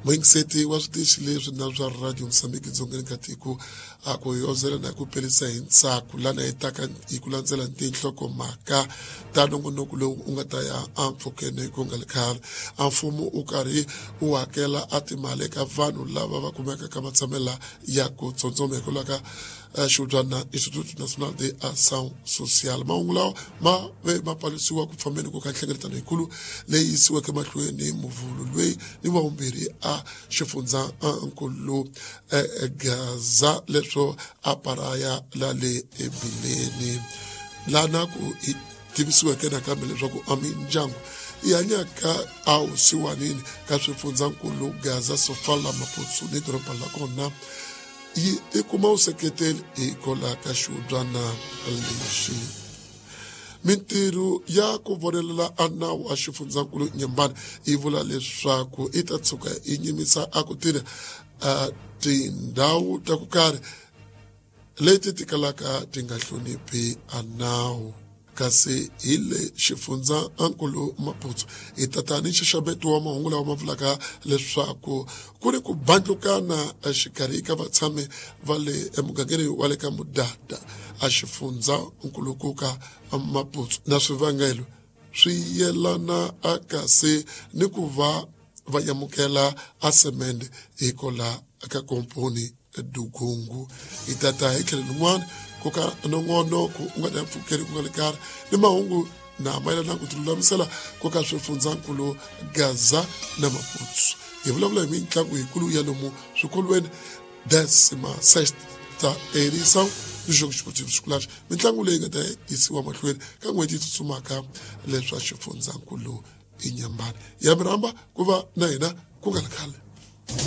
Muyingiseti wa switichi leswi na swa Radio Mozambique dzongeni ka tiko a ku yozela na ku pelisa hi ntsako lana hi taka hi ku landzela tinhlokomhaka ta nongonoko lowu u nga ta ya empfhukeni ku nga ri khale. A mfumo u karhi u hakela a timali eka vanhu lava va kumekaka ka matshamela ya ku tsondzoma hikwalaho ka xihubyana Instituto Nacional de Ação Social. Mahungu lawa ma ve ma palusiwa ku fambeni ku ka nhlengeletano yikulu leyi yisiweke mahlweni muvhulu loyi ni wa vumbirhi a xifundza nkulu Gaza leswo a paraya la le ebileni lana ku hi tivisiweke nakambe leswaku a mindyangu yi hanyaka a wusiwanini ka swifundzankulu Gaza, Sofala, Maputo ni doroba la kona yi i kuma vuseketeli hikwalaho ka xihubyana lexi. Mintirho ya ku vonelela a nawu wa xifundzankulu Nyembani yi vula leswaku yi ta tshuka yi nyimisa a ku tirha a tindhawu ta ku karhi leti ti kalaka ti nga hloniphi a nawu. Kasi hi le xifundzankulu Maputo hi tata ni nxaxameto wa mahungu lawa ma vulaka leswaku ku ri ku bandlukana exikarhi ka vatshami va le emugangeni wa le ka Mudada a xifundzankulukuka Maputo na swivangelo swi yelana a kasi ni ku va va amukela a semende hikola ka komponi Dugungu. Hi tata hi tlhelo rin'wana ku ka nongonoko u nga ta pfukeli ku nga le karhi ni mahungu na mayelana ku tilulamisela ku ka swifundzankulu Gaza na Maputo. Hi vulavula hi mitlangu yikulu ya lomu swikolweni décima sexta edição do Jogo Esportivo Escolares, mitlangu leyi nga ta yisiwa mahlweni ka n'hweti yi tsutsumaka leswa xifundzankulu Inyambani. Ya mi rhamba ku va na hina ku nga ri khale.